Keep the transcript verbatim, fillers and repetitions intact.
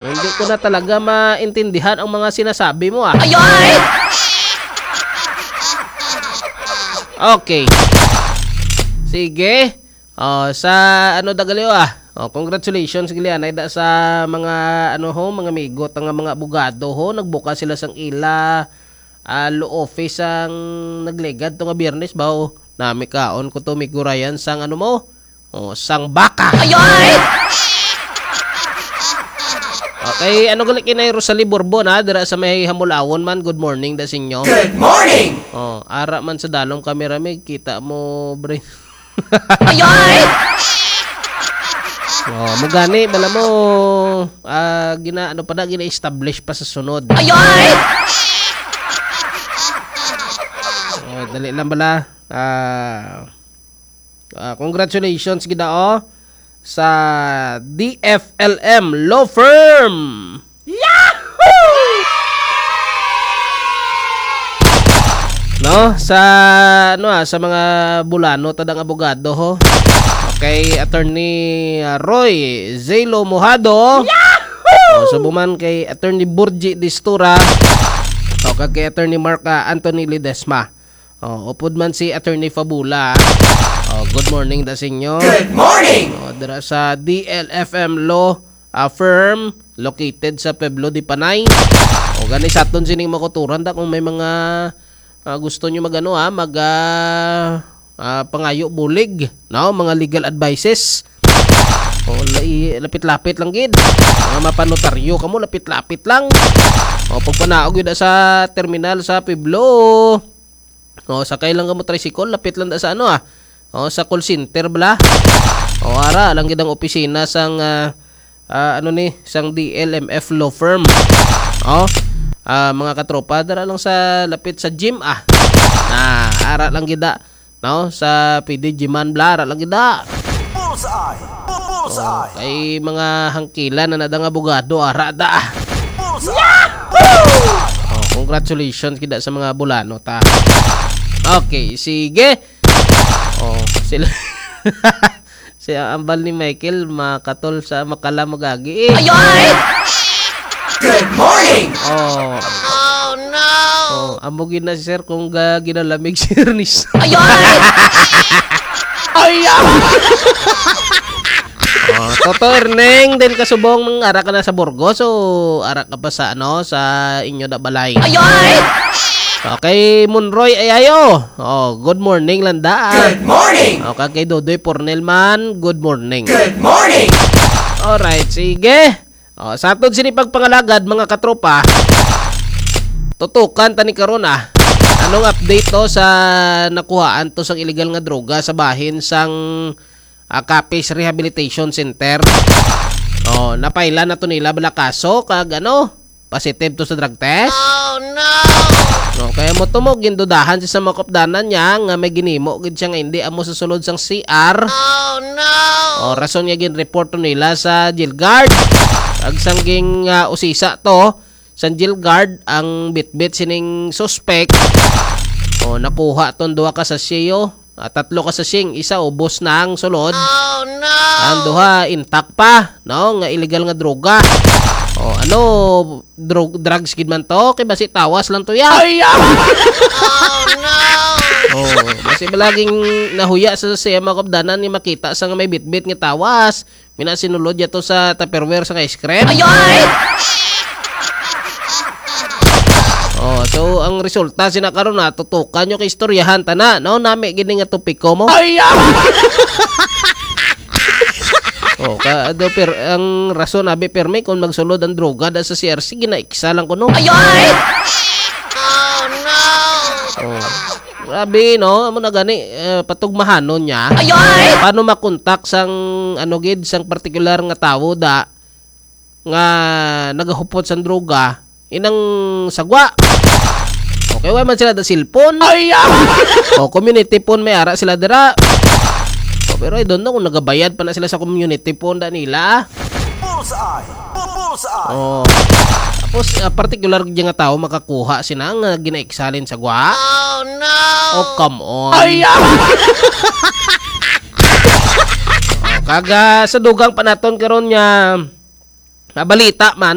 Hindi ko na talaga maintindihan ang mga sinasabi mo, ah. Ay, ay! Okay. Sige. Oh, sa ano da gali, ah. Oh, congratulations gali anay da sa mga ano ho, mga amigo ta nga mga abogado ho, nagbuka sila sang ila, ah, law office sang nagligad to nga Biyernes ba, oh. Nami kaon ko to, Migo Ryan, sang ano mo? Oh, sang baka. Ay, ay! Okay, ano gali kinay Rosalie Borbon, ha? Dira sa may Hamulawon man, good morning da sa inyo. Good morning! Oh, ara man sa dalom camera, may kita mo, bre. Ay, ay! Oh, mo gani, bala mo, ah, gina, ano pa na, gina-establish pa sa sunod. Ay, ay! Oh, dali lang bala. Ah, ah, congratulations gid, oh, sa D F L M Law Firm. Yahoo! No, sa ano, ah, sa mga bulano ta dang abogado ho. Okay, Attorney, ah, Roy Zelo Mojado. Yahoo! O, subo man kay Attorney Burji Distura. O, kag kay Attorney Mark, ah, Anthony Ledesma. O, upod man si Attorney Fabula. O, good morning da sa inyo. Good morning! O, dira sa D L F M Law, ah, Firm, located sa Pueblo de Panay. O, gani sa aton sining makuturan da kung may mga, ah, gusto nyo mag-ano, ha, mag, ah, ah, pangayo bulig, no? Mga legal advices. O, lai-, lapit-lapit lang gid. Mga mapanotaryo kamo, lapit-lapit lang. O, pagpanaog yun sa terminal sa Pueblo. O, sakay lang kamo tricycle, lapit lang da sa ano, ah. O, sa call center bala. O, ara lang gid ang opisina sang, ah, ah, ano ni, sang D L M F law firm. O, ah, mga katropa, dara lang sa lapit sa gym, ah. Ah, ara lang gid da, no? Sa P D G man bala, ara lang gid da. Bullseye! Bu-, bullseye! O, kay mga hangkilan na nadang abogado, ara da. Bullseye! O, congratulations gid da sa mga bulano ta. Okay, sige. O, sila, si ambal ni Michael, makatol sa makala magagi, eh. Ay, ay! Good morning! O. Oh, no! O, amo gid na si sir kung ga-, ginalamig si Ernest. Ay, ay! Ay, ay! O, Toto Erneng, din kasubong, mang ara ka na sa Burgos, o ara ka pa sa, ano, sa inyo da balay? Ay, ay! Okay, Monroy Ayayo. O, good morning, landa. Good morning! O, kag kay Dodoy Pornel man, good morning. Good morning! Alright, sige. O, sa aton sini pagpangalagad, mga katropa, tutukan ta ni karon, ah. Anong update to sa nakuhaan to sang illegal nga droga sa bahin sang, ah, Capiz Rehabilitation Center? O, napailan na to nila bala kaso kag ano, positive to sa drug test? Oh, no! O, kaya mo to mo, gindudahan siya sa mga kupdanan niya nga may ginimo gid siya nga hindi amo sa sulod sang C R. Oh, no! O, rason nga ginreport to nila sa jail guard. Ag sang ging, ah, usisa to, sang jail guard ang bitbit sining suspect. O, nakuha ton duha ka sachet, o. Ah, tatlo ka sachet, isa ubos na ang sulod. Oh, no! Ang duha intact pa, no, nga illegal nga droga. O, ano, drug, drugs gid man to, kay basi tawas lang to ya. Ay, ah! Oh, no! O, basi malaging nahuya sa siya mga kupdanan ni makita sa nga may bitbit nga tawas. Mina sinulod ya to sa Tupperware sa ice cream. Ay, ay! O, so ang resulta sina karon na tutukan nyo kay istoryahan ta na, no? Nami gini nga topiko mo. Ay, ah! O, ka, do, per, ang rason abi permi kung magsulod ang droga da sa C R C, ginaiksa lang kuno. Ay, ay! Oh, no! O. Grabe, no? Amo na gani, eh, patugmahanon niya. Ay, ay! Paano makontak sang, ano gid, sang partikular nga tawo da nga nagahupot sang droga, inang sagwa? Okay, wa man sila da cellphone. Ay, ah! O, community phone may ara sila dira. O, pero I don't know kung nagabayad pa na sila sa community phone da nila. Bullseye! Bu-, bullseye! O. Tapos, ah, particular gid nga tawo makakuha sina nga ginaiksalin sagwa? Oh, no! Oh, come on. Ay, ah! O, kag, ah, sa dugang pa naton karon nga, Nabalita man